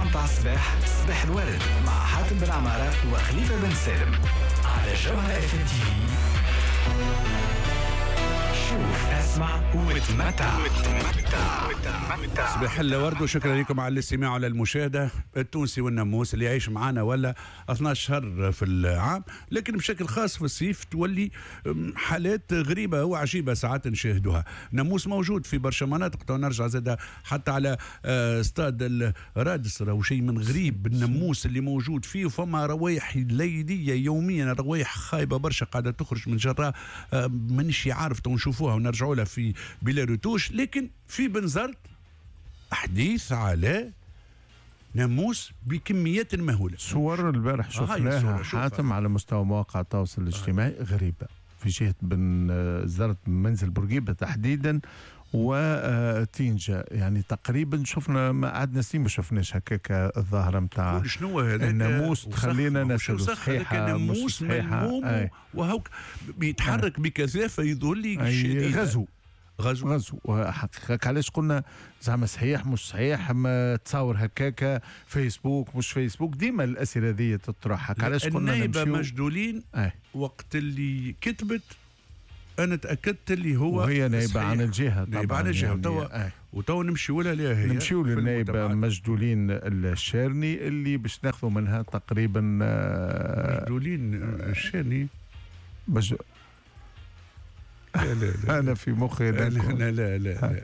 متاع الصباح، صباح الورد مع حاتم بن عمارة وخليفة بن سالم على جوهرة اف ام تي في. شوف، اسمع وتمتع. صباح الورد وشكرا لكم على الاستماع وعلى المشاهدة. التونسي والناموس اللي يعيش معنا ولا 12 شهر في العام، لكن بشكل خاص في الصيف تولي حالات غريبة وعجيبة ساعات نشاهدوها. ناموس موجود في برشا مناطق، تو نرجع زاد حتى على استاد الرادس، راهو شيء من غريب الناموس اللي موجود فيه، وفما روايح ليلية يوميا، روايح خايبة برشا قاعدة تخرج من جراء مانيش عارف، تو نشوفوها ونرجعوا لها في بلا رتوش. لكن في بنزرت حديث على ناموس بكميات مهولة. صور البارح شفناها حاتم على مستوى مواقع التواصل الاجتماعي غريبة في جهة بنزرت، منزل بورقيبة تحديدا وتينجا، يعني تقريبا شفنا ما قعدنا سنين ما شفناش هكاك الظاهرة نتاع شنو هذاك الناموس. تخلينا نسألوا صحيحة الناموس ملموم وهوك بيتحرك بكثافة يظل لي غزو غزو حقيقة. علاش قلنا زعما صحيح مش صحيح، ما تصور هكاكا فيسبوك مش فيسبوك، ديما الاسئلة هذه تطرح. علاش قلنا النايبه مجدولين وقت اللي كتبت انا تاكدت اللي هو وهي نايبه عن الجهة، نايبه عن الجهة يعني وتو نمشيو لها ليها هي، نمشيو للنايبه مجدولين الشارني اللي باش ناخذوا منها تقريبا مجدولين الشارني لا لا لا. انا في مخي لا لا لا لا.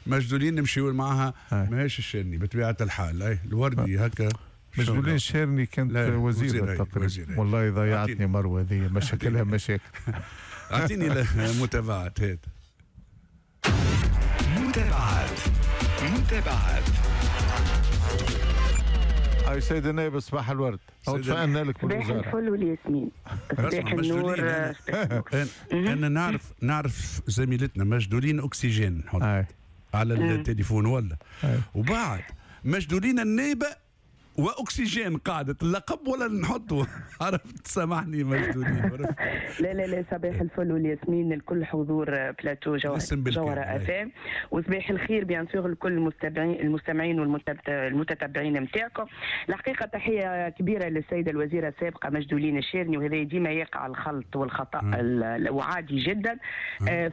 مجدولين نمشيو معها، ماهيش الشارني بطبيعة الحال، اي الوردي هكا. مجدولين الشارني كانت وزيره تقريبا. والله ضيعتني مروه هذه مشاكلها مشاكل. اعطيني متابعات هات. متابعات متابعات. اي سيد النائب صباح الورد، او تفائلنا لك بالوزارة. صباح الفل والياسمين، صباح النور. انا نعرف زميلتنا مجدولين اكسجين نحط على التليفون ولا وبعد مجدولين النائبه واكسجين قاعدة اللقب ولا نحطه عرفت، سامحني مجدولين. لا لا لا، صباح الفل والياسمين لكل حضور بلاتو جوهرة اف ام، وصباح الخير bien sûr لكل المستمعين والمتتبعين نتاعكم. الحقيقة تحية كبيرة للسيدة الوزيرة السابقة مجدولين الشارني، وهذا ديما يقع الخلط والخطا وعادي جدا.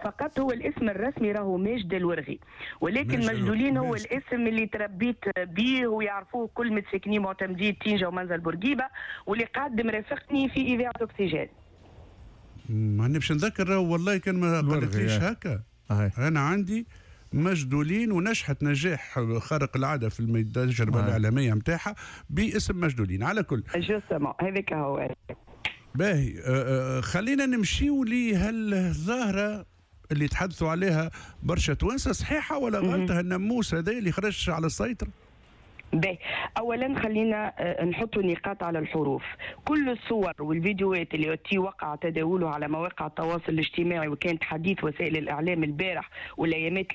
فقط هو الاسم الرسمي راهو ماجد الورغي، ولكن مجدولين هو الاسم اللي تربيت به ويعرفوه كل متساكنين معتمدية تينجا ومنزل بورقيبة، واللي قاعد مرافقني في إذاعة أكسجين. ما باش نذكر والله كان ما قالتليش هكا. أنا عندي مجدولين ونجحت نجاح خارق العادة في التجربة الإعلامية نتاعها باسم مجدولين. على كل justement هذاك هو. باهي، خلينا نمشيو لهالظاهرة اللي تحدثوا عليها برشا توانسة، صحيحة ولا غلطة الناموس هذا اللي خرج على السيطرة؟ باهي، اولا خلينا نحطوا نقاط على الحروف. كل الصور والفيديوهات اللي وقع تداولها على مواقع التواصل الاجتماعي وكانت حديث وسائل الاعلام البارح والايامات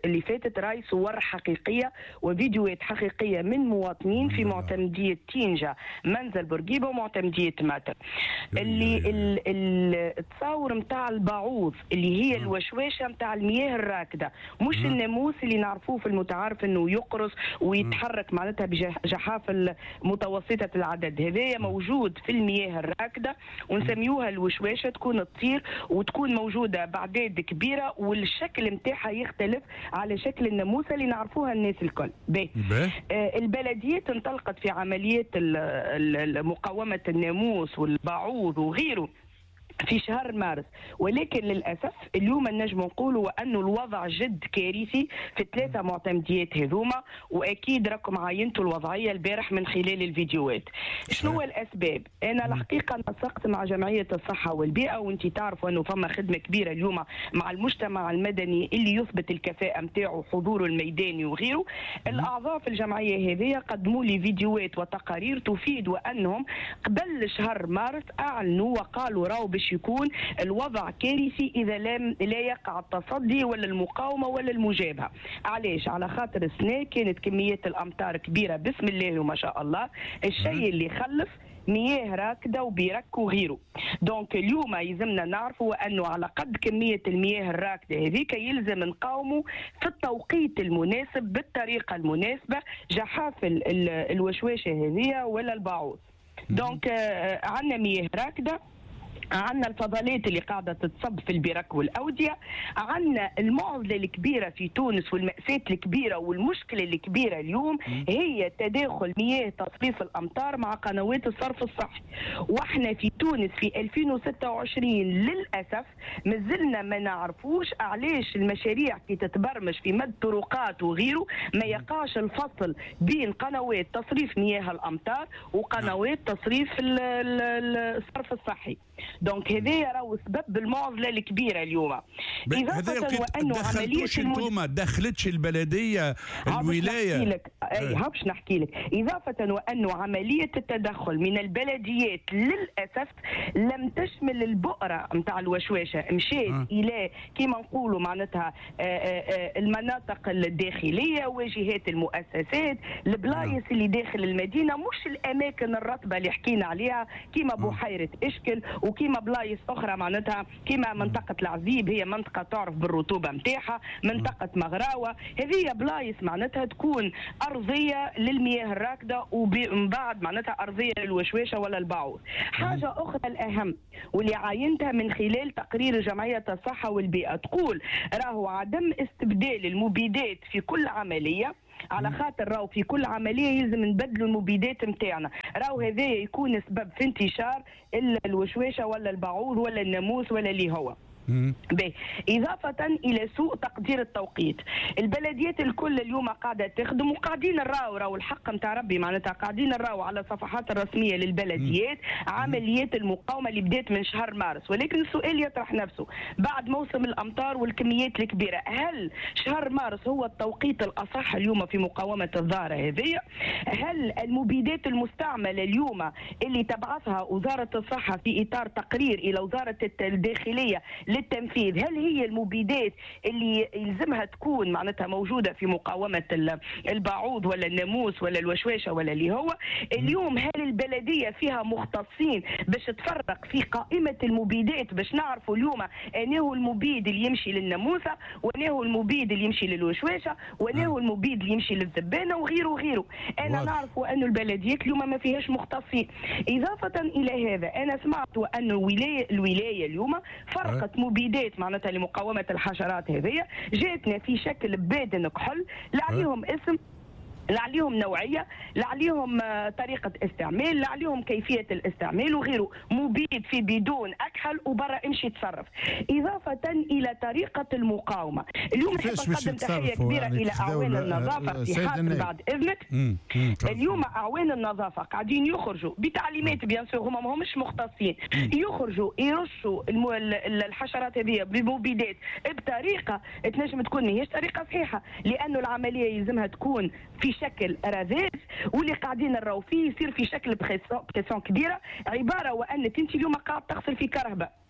اللي فاتت، راي صور حقيقية وفيديوهات حقيقية من مواطنين في معتمديه تينجا منزل بورقيبة ومعتمديه ماتر، اللي التصاور نتاع البعوض اللي هي الوشواشه نتاع المياه الراكده، مش الناموس اللي نعرفوه في المتعارف انه يقرص ويتحرك معناتها بجحافل متوسطة العدد. هذايا موجود في المياه الراكدة ونسميوها الوشواشة، تكون تطير وتكون موجودة بأعداد كبيرة والشكل نتاعها يختلف على شكل الناموسة اللي نعرفوها الناس الكل. البلديات انطلقت في عمليات مقاومة الناموس والبعوض وغيره في شهر مارس، ولكن للأسف اليوم نجم نقولوا أنه الوضع جد كارثي في 3 معتمديات هذوما، وأكيد راكم عاينتوا الوضعية البارح من خلال الفيديوهات. شنو الأسباب؟ أنا الحقيقة نسقت مع جمعية الصحة والبيئة، وأنت تعرفوا أنه فما خدمة كبيرة اليوم مع المجتمع المدني اللي يثبت الكفاءة نتاعو حضوره الميداني وغيره. الأعضاء في الجمعية هذه قدموا لي فيديوهات وتقارير تفيد وأنهم قبل شهر مارس أعلنوا وقالوا راهو باش يكون الوضع كارثي اذا لا يقع التصدي ولا المقاومة ولا المجابهه. علاش؟ على خاطر السنة كانت كميات الامطار كبيرة بسم الله وما شاء الله، الشيء اللي خلف مياه راكده وبرك وغيره. donc اليوم يلزمنا نعرفوا انه على قد كمية المياه الراكده هذيك يلزم نقاوموا في التوقيت المناسب بالطريقة المناسبة جحافل الوشواشه هذه ولا البعوض. donc عندنا مياه راكده، عندنا الفضلات اللي قاعدة تتصب في البرك والأودية، عندنا المعضلة الكبيرة في تونس والمأساة الكبيرة والمشكلة الكبيرة اليوم هي تداخل مياه تصريف الأمطار مع قنوات الصرف الصحي. واحنا في تونس في 2026 للأسف مازلنا ما نعرفوش علاش المشاريع كي تتبرمج في مد طرقات وغيره ما يقاش الفصل بين قنوات تصريف مياه الأمطار وقنوات تصريف الصرف الصحي. donc هذايا راهو سبب المعضلة الكبيرة اليوم. اضافه وانه عملية انتوما دخلتش البلدية الولاية. اي باش نحكي لك. اضافه وانه عملية التدخل من البلديات للاسف لم تشمل البؤره نتاع الوشواشه، مشات الى كيما نقولوا معناتها المناطق الداخلية، واجهات المؤسسات، البلايص اللي داخل المدينة، مش الاماكن الرطبة اللي حكينا عليها كيما بحيرة اشكل وكيما بلايص اخرى معناتها كيما منطقة العزيب، هي منطقة تعرف بالرطوبه نتاعها، منطقة مغراوه، هذه بلايص معناتها تكون ارضية للمياه الراكده ومن بعد معناتها ارضية للوشواشه ولا البعوض. حاجة اخرى الاهم واللي عاينتها من خلال تقرير جمعية الصحة والبيئة تقول راهو عدم استبدال المبيدات في كل عملية، على خاطر راهو في كل عملية يلزم نبدلوا المبيدات نتاعنا، راهو هذا يكون سبب في انتشار الوشواشه ولا البعوض ولا الناموس ولا اللي هو. باهي. إضافة إلى سوء تقدير التوقيت، البلديات الكل اليوم قاعدة تخدم وقاعدين نراو، راهو الحق نتاع ربي معناتها قاعدين نراو على الصفحات الرسمية للبلديات عمليات المقاومة اللي بدات من شهر مارس، ولكن السؤال يطرح نفسه بعد موسم الأمطار والكميات الكبيرة، هل شهر مارس هو التوقيت الأصح اليوم في مقاومة الظاهرة هذه؟ هل المبيدات المستعملة اليوم اللي تبعثها وزارة الصحة في إطار تقرير إلى وزارة الداخلية للتنفيذ، هل هي المبيدات اللي يلزمها تكون معناتها موجودة في مقاومة البعوض ولا الناموس ولا الوشواشة ولا اللي هو؟ اليوم هل البلدية فيها مختصين باش تفرق في قائمة المبيدات باش نعرفوا اليوم أنه المبيد اللي يمشي للناموسة وأنه المبيد اللي يمشي للوشواشة وأنه المبيد اللي يمشي للذبانة وغيره وغيره؟ أنا نعرف أنه البلديات اليوم ما فيهاش مختصين. إضافة إلى هذا أنا سمعت أنه الولاية اليوم فرقت مبيدات معناتها لمقاومة الحشرات هذه، جاتنا في شكل بادن كحل، لا عليهم اسم، لا عليهم نوعية، لا عليهم طريقة استعمال، لا عليهم كيفية الاستعمال وغيره، مبيد في بدون أكحل وبرا امشي تصرف. إضافة إلى طريقة المقاومة، اليوم نحب نقدم تحية كبيرة يعني إلى أعوان النظافة في حاتم بعد إذنك. اليوم أعوان النظافة قاعدين يخرجوا بتعليمات bien sûr، هما ما همش مختصين، يخرجوا يرشوا الحشرات هذه بمبيدات بطريقة تنجم تكون ماهيش طريقة صحيحة، لأنه العملية يلزمها تكون في شكل رذاذ، واللي قاعدين نراو فيه يصير في شكل pression كبيرة، عبارة وانك انت اليوم قاعد تغسل في كرهبه.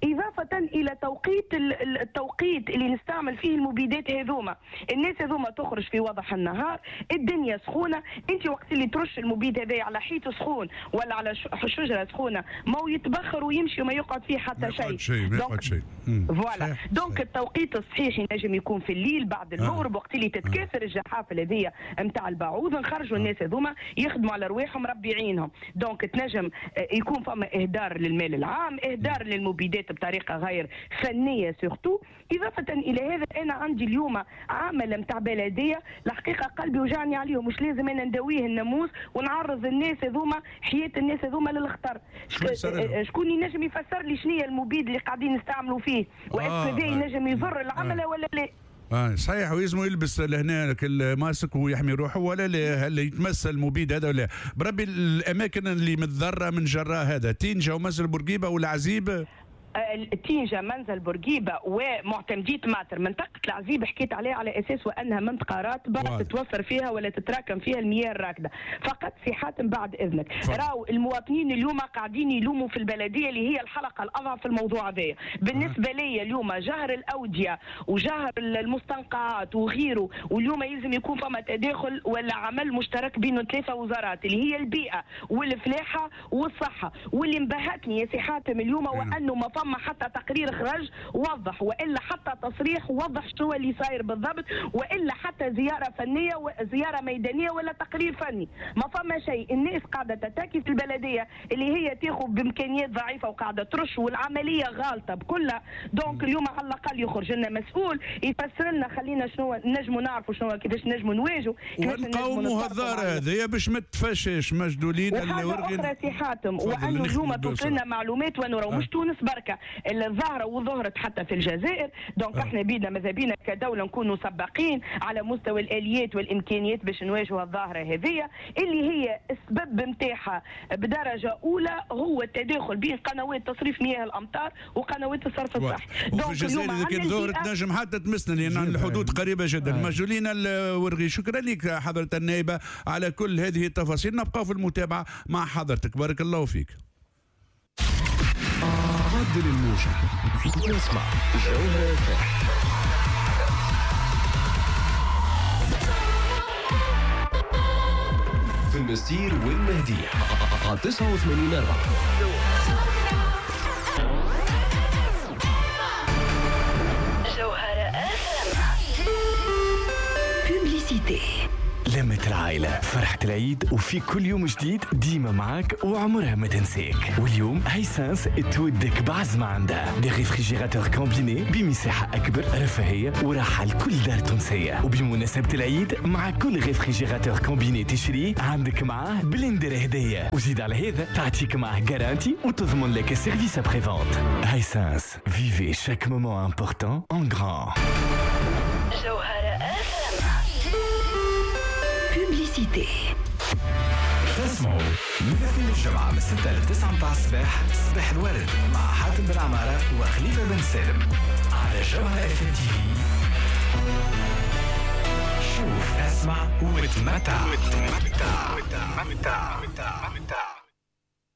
اضافه الى توقيت التوقيت اللي نستعمل فيه المبيدات هذوما، الناس هذوما تخرج في وضح النهار، الدنيا سخونة، انت وقت اللي ترش المبيد هذا على حيط سخون ولا على شجرة سخونة ما هو يتبخر ويمشي وما يقعد فيه حتى شيء. ما يقعد شيء. voilà. donc التوقيت الصحيح ينجم يكون في الليل بعد المغرب وقت اللي تتكاثر الجحافل هذيا نتاع البعوض، نخرجوا الناس هذوما يخدموا على رواحهم ربي يعينهم. donc تنجم يكون فما اهدار للمال العام، اهدار للمبيدات بطريقة غير فنية surtout. اضافه الى هذا انا عندي اليوم عامل نتاع بلديه الحقيقة قلبي وجعني عليهم، مش لازم انا نداويه الناموس ونعرض الناس هذوما، حياة الناس هذوما للخطر. شكون ينجم يفسر لي شنو هي المبيد اللي قاعدين نستعملوا فيه و est-ce que ينجم يضر العملة ولا لا؟ صحيح، ويلزمو يلبس لهنا الماسك ويحمي روحه ولا لا؟ هل يتمس المبيد هذا ولا؟ بربي الاماكن اللي متضرره من جراء هذا تينجا ومنزل بورقيبة والعزيب. تينجا، منزل بورقيبة ومعتمديه ماتر. منطقة العزيب حكيت عليها على اساس وانها منطقة راتبه تتوفر فيها ولا تتراكم فيها المياه الراكده. فقط في حاتم بعد اذنك، راو المواطنين اليوم قاعدين يلوموا في البلدية اللي هي الحلقة الاضعف في الموضوع هذايا. بالنسبة لي اليوم جهر الاودية وجهر المستنقعات وغيره، واليوم يلزم يكون فما تداخل ولا عمل مشترك بين 3 وزارات اللي هي البيئة والفلاحه والصحة. واللي مبهتني يا سي حاتم اليوم وانه ما فما حتى تقرير خرج وضح، والا حتى تصريح وضح شنو اللي صاير بالضبط، والا حتى زيارة فنية وزيارة ميدانية ولا تقرير فني، ما فما شيء. الناس قاعدة تتاكي في البلدية اللي هي تاخذ بامكانيات ضعيفة وقاعدة ترش، والعملية غالطه بكلها. donc اليوم على الاقل يخرج لنا مسؤول يفسر لنا، خلينا شنو نجموا نعرفوا شنو كيفاش نجموا نواجهوا، ونقاوموا هالظاهره هذه باش ما تفشش. مجدولين اللي اخرى سي حاتم، وانه اليوم توصلنا معلومات وانه مش تونس بركة الظاهرة وظهرت حتى في الجزائر. donc احنا بينا ماذا بينا كدولة نكونوا سباقين على مستوى الاليات والامكانيات باش نواجهوا الظاهرة هذه اللي هي السبب نتاعها بدرجة اولى هو التداخل بين قنوات تصريف مياه الامطار وقنوات الصرف الصحي. donc الجزائر اذا كان ظهرت نجم حتى تمسنا لان الحدود قريبه جدا. مجدولين الورغي، شكرا لك حضره النائبه على كل هذه التفاصيل، نبقى في المتابعة مع حضرتك، بارك الله فيك. عدل الموجة واسمع جوهرة FM. في المستير والمهدية على 89.4. جوهرة FM. Publicité. لمة العائلة، فرحة العيد، وفي كل يوم جديد ديما معاك وعمرها ما تنساك. واليوم Hisense تودك بعزمة عندها des réfrigérateurs combinés بمساحة أكبر، رفاهية وراحة لكل دار تونسية. وبمناسبة العيد مع كل réfrigérateur combiné تشريه عندك معاه blender هدية، وزيد على هذا تعطيك معاه garantie وتضمن لك service après-vente. Hisense, vivez chaque moment important en grand. جوهرة FM. Publicité. تسمعوا من الاثنين للجمعة من 6 ل 9 متاع الصباح، صباح الورد مع حاتم بن عمارة وخليفة بن سالم على جوهرة FM TV. شوف، اسمع وتمتع. وتمتع. وتمتع.